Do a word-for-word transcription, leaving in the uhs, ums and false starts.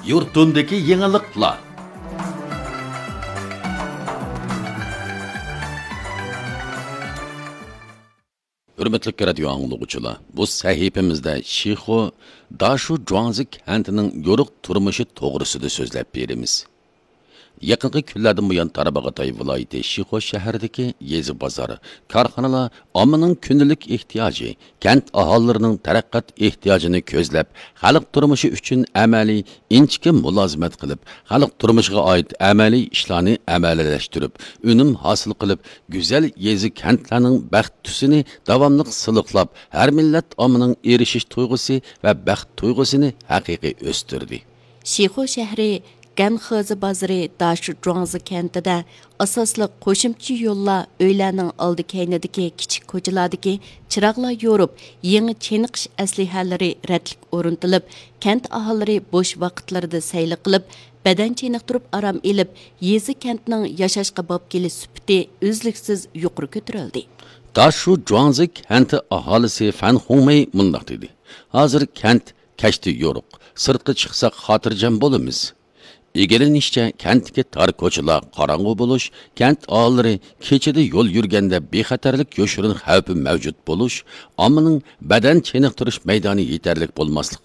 يۇرتۇمدىكى يېڭىلىقلار. ھۆرمەتلىك رادىيو ئاڭلىغۇچىلار، بۇ سەھىپىمىزدە شىخۇ داشۇ جۇاڭزى كەنتىنىڭ يورۇق تۇرمۇشى توغرىسىدا سۆزلەپ بېرىمىز. يېقىنقى كۈنلەردىن بۇيان تارباغاتاي ۋىلايىتى شىخۇ شەھىرىدىكى يېزا بازار، كارخانىلار ئاممىنىڭ كۈندىلىك ئېھتىياجى، كەنت ئاھالىلىرىنىڭ تەرەققىيات ئېھتىياجىنى كۆزلەپ، خەلق تۇرمۇشى ئۈچۈن ئەمەلىي، ئىنچىكە مۇلازىمەت قىلىپ، خەلق تۇرمۇشىغا ئائىت ئەمەلىي ئىشلارنى ئەمەلىيلەشتۈرۈپ، ئۈنۈم ھاسىل قىلىپ، گۈزەل يېزا كەنتلەرنىڭ بەخت تۈسىنى داۋاملىق سىلىقلاپ، ھەر مىللەت ئاممىنىڭ ئېرىشىش تۇيغۇسى ۋە بەخت تۇيغۇسىنى ھەقىقىي ئۆستۈردى. شىخۇ شەھىرى گەنخېزى بازىرى داشۇ جۇاڭزى كەنتىدە ئاساسلىق قوشۇمچە يوللار، ئۆيلەرنىڭ ئالدى كەينىدىكى كىچىك كوچىلاردىكى چىراغلار يورۇپ، يېڭى چېنىقىش ئەسلىھەلىرى رەتلىك ئورنىتىلىپ، كەنت ئاھالىلىرى بوش ۋاقىتلىرىدا سەيلە قىلىپ، بەدەن چېنىقتۇرۇپ ئارام ئېلىپ، يېزا كەنتنىڭ ياشاشقا باب كېلىش سۈپىتى ئۈزلۈكسىز يۇقىرى كۆتۈرۈلدى. داشۇ جۇاڭزى كەنتى ئاھالىسى فەن خۇڭمېي مۇنداق دېدى: ھازىر كەنت كەچتە يورۇق، سىرتقا چىقساق خاتىرجەم بولىمىز. ئىگىلىنىشىچە، كەنتتىكى تار كوچىلار، قاراڭغۇ بولۇش، كەنت ئاھالىلىرى كېچىدە يول يۈرگەندە بىخەتەرلىك يوشۇرۇن خەۋپى مەۋجۇت بولۇش، ئاممىنىڭ بەدەن چېنىقتۇرۇش مەيدانى يېتەرلىك بولماسلىق